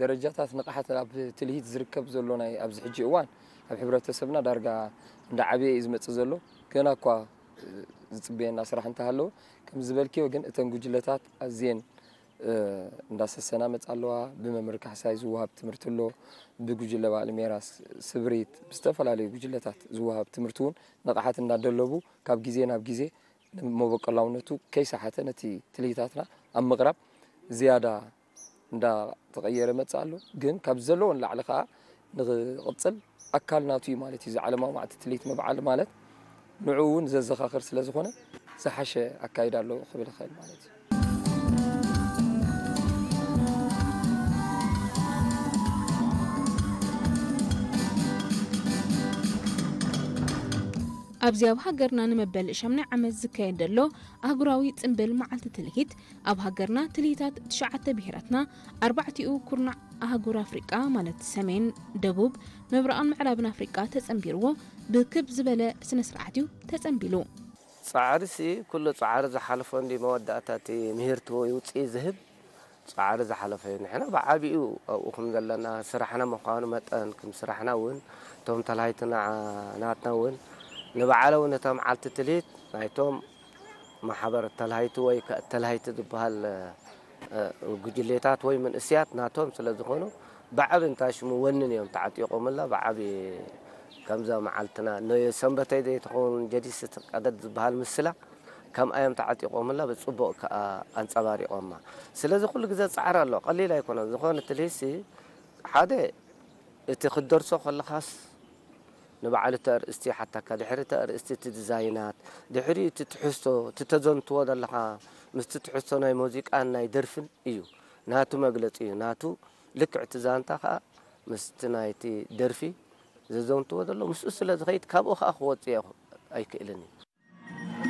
ደረጃታት ንቕሓት ኣብ ትልሂት ዝርከብ ዘሎ ናይ ኣብዚ ሕጂ እዋን ኣብ ሕብረተሰብና ዳርጋ እንዳዓበየ እዩ ዝመጽእ ዘሎ። ገና እኳ ዝጽበየና ስራሕ እንተሃለወ፣ ከም ዝበልክዮ ግን እተን ጉጅለታት ኣዝየን እንዳሰሰና መጻ ኣለዋ። ብመምህር ካሕሳይ ዝወሃብ ትምህርቲ ኣሎ፣ ብጉጅለ በዓል ሜራስ፣ ስብሪት፣ ብዝተፈላለዩ ጉጅለታት ዝወሃብ ትምህርቲ እውን ንቕሓት እንዳደለቡ ካብ ግዜ ናብ ግዜ ንመበቆላውነቱ ከይሰሓተ ነቲ ትልሂታትና ኣብ ምቕራብ ዝያዳ እንዳተቐየረ መጽእ ኣሎ። ግን ካብ ዘለዎ ንላዕሊ ከኣ ንኽቕጽል ኣካል ናቱ እዩ ማለት እዩ። እዚ ዓለማዊ መዓልቲ ትልሂት ምብዓል ማለት ንዕኡ እውን ዘዘኻኽር ስለ ዝኾነ ዝሓሸ ኣካይዳ ኣለዎ ክብል ይኽእል ማለት እዩ። ኣብዚ ኣብ ሃገርና ንመበል ሻምናይ ዓመት ዝካየድ ዘሎ ኣህጉራዊ ጽምብል መዓልቲ ትልሂት፣ ኣብ ሃገርና ትልሂታት ትሽዓተ ብሄራትና፣ ኣርባዕቲኡ ኩርናዕ ኣህጉር ኣፍሪቃ ማለት ሰሜን፣ ደቡብ፣ ምብራቕን ምዕራብን ኣፍሪቃ ተጸንቢርዎ ብክብ ዝበለ ስነ ስርዓት እዩ ተጸንቢሉ። ጻዕርሲ ኩሉ ጻዕሪ ዝሓለፎ እንዲ መወዳእታ እቲ ምህርቲ ወይ ውጽኢት ዝህብ ጻዕሪ ዝሓለፈ እዩ። ንሕና ብዓቢኡ ኣብኡ ከም ዘለና ስራሕና ምዃኑ መጠን፣ ከም ስራሕና እውን እቶም ተላሃይቲ ንዓ ናትና እውን ንበዓለ እውን እታ መዓልቲ ትልሂት ናይቶም ማሕበር ተላሃይቲ ወይ ከ ተላሃይቲ ዝበሃል ጉጅሌታት ወይ መንእስያት ናቶም ስለ ዝኾኑ ብዓቢ እንታይ ሽሙ ወንን እዮም ተዓጢቖምላ። ብዓቢ ከምዛ መዓልትና ንሰንበተይ ዘይትኸውን ጀዲስ ቀደድ ዝበሃል ምስላ ከምኣ እዮም ተዓጢቖምላ። ብጽቡቕ ከኣ ኣንጸባሪቖማ። ስለዚ ኩሉ ግዜ ጻዕሪ ኣሎ፣ ቀሊል ኣይኮነን። ዝኾነ ትልሂትሲ ሓደ እቲ ክትደርሶ ከለኻስ ንባዕሉ እቲ ኣርእስቲ ይሓተካ፣ ድሕሪ እቲ ኣርእስቲ እቲ ዲዛይናት፣ ድሕሪኡ እቲ ትሕዝቶ፣ እቲ ተዘንትዎ ዘለኻ ምስቲ ትሕዝቶ ናይ ሙዚቃን ናይ ደርፍን እዩ። ናቱ መግለጺ እዩ። ናቱ ልክዕ እቲ ዛንታ ከኣ ምስቲ ናይቲ ደርፊ ዘዘንትዎ ዘሎ ምስኡ ስለ ዝኸይድ ካብኡ ከኣ ክወጽእ ኣይክእልን እዩ።